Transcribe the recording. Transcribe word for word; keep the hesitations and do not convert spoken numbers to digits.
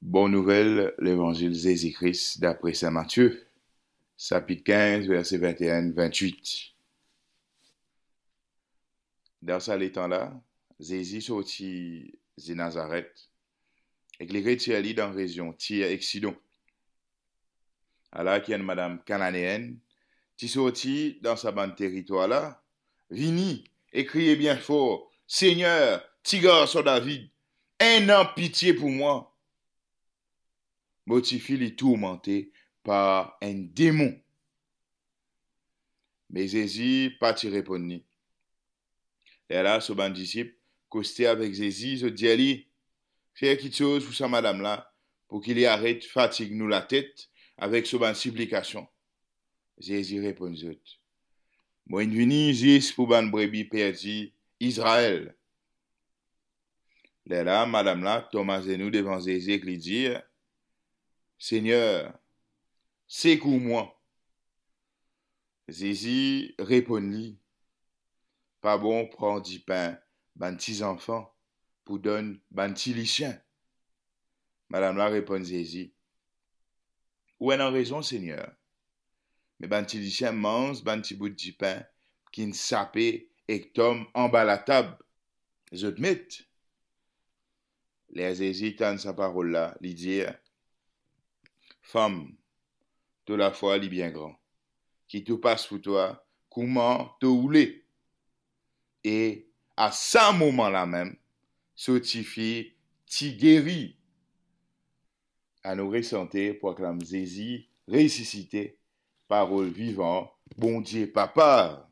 Bon Nouvel, Levanzil Zezi Kris dapre Sin Matie, sapit kinz, verse vinte-et-un, vinte-huit. Dan sa letan la, Zezi sorti Nazaret ek li retir li dan rezion Tir ek Sidon. Ala ki enn madam Kananeenn ti sorti dan sa bann teritwar la, vini e kriye bien for, "Segner, Ti Garson David, ena pitie pou mwa!" Mo tifi li tourmante par enn demon. Me Zezi pa ti reponn li. Lerla so bann disip koste avek Zezi, zot dir li, "Fer kiksoz pou sa madam la, pou ki li aret fatig nou latet avek so bann siplikasion." Zezi reponn zot, "Mo inn vini zis pou bann brebi perdi Izrael." Lerla madam la tom azenou devan Zezi ek li dir, "Segner, sekour mwa." Zezi reponn li, "Pa bon pran dipin bann ti zanfan pou donn bann ti lisien." Madam la reponn Zezi, "Ou ena rezon, Segner. Me bann ti lisien manz bann ti bout dipin ki'nn sape ek tom anba latab zot met." Ler Zezi tann sa parol la, li dir, "Fam, to lafwa li bien gran. Ki tou pas pou twa kouma to oule." E a sa moman la mem, so tifi ti geri. Anou resante, proklam Zezi resisite, parol vivan Bondie Papa.